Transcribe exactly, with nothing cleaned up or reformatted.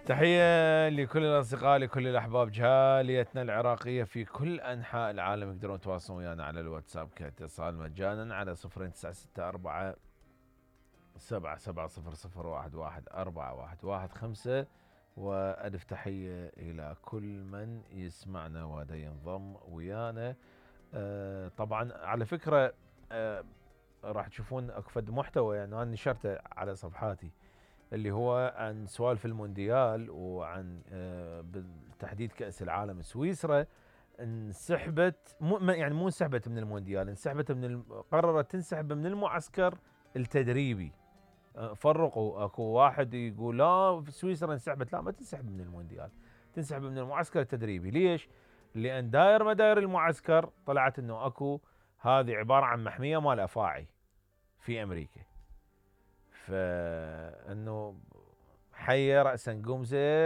تحية لكل الأصدقاء لكل الأحباب جاليتنا العراقية في كل أنحاء العالم. يقدرون يتواصلون ويانا على الواتساب كاتصال مجانا على صفرين تسعة ستة أربعة سبعة سبعة صفر صفر واحد واحد أربعة واحد واحد خمسة. وألف تحية إلى كل من يسمعنا ودا ينضم ويانا. أه طبعا على فكرة أه راح تشوفون أكفد محتوى يعني أنا نشرته على صفحاتي اللي هو عن سوالف المونديال وعن أه بالتحديد كأس العالم. سويسرا انسحبت مو يعني مو انسحبت من المونديال، انسحبت من قررت تنسحب من المعسكر التدريبي. فرقوا اكو واحد يقول لا سويسرا انسحبت، لا ما تنسحب من المونديال، تنسحب من المعسكر التدريبي. ليش؟ لان داير ما داير المعسكر طلعت انه اكو هذه عباره عن محميه مال افاعي في امريكا. فانه حي راسا قمزه